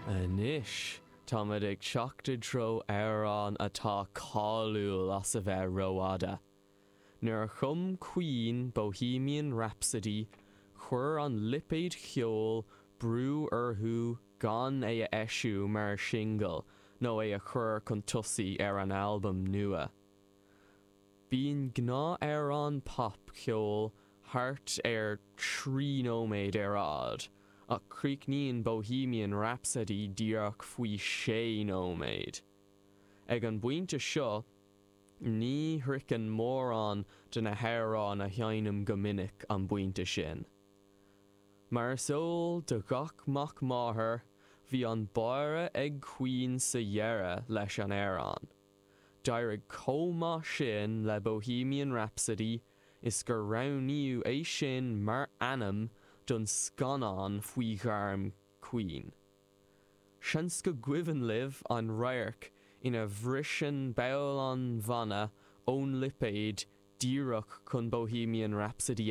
Anois, táimid ag teacht i dtreo amhrán atá cáiliúil as a bheith rófhada. Nuair a chum Queen Bohemian Rhapsody, chuir an lipéad cheoil brú orthu gan é a eisiú mar shingil nó é a chur chun tosaigh ar an albam nua. Bíonn gnáthamhrán popcheoil thart ar 3 nóiméad ar fhad, ach críochnaíonn Bohemian Rhapsody díreach faoi 6 nóiméad. Ag an bpointe seo, ní shroicheann mórán de na hamhráin a sheinnim go minic an pointe sin. Mar is eol do gach mac máthar, bhí an báire ag Queen sa dheireadh leis an amhrán. D'éirigh chomh maith sin le Bohemian Rhapsody is gur roghnaíodh é sin mar ainm don scannán faoi ghairm Queen. Seans go gcuimhin libh an radharc ina bhriseann ball an bhanna ón lipéad díreach chun Bohemian Rhapsody.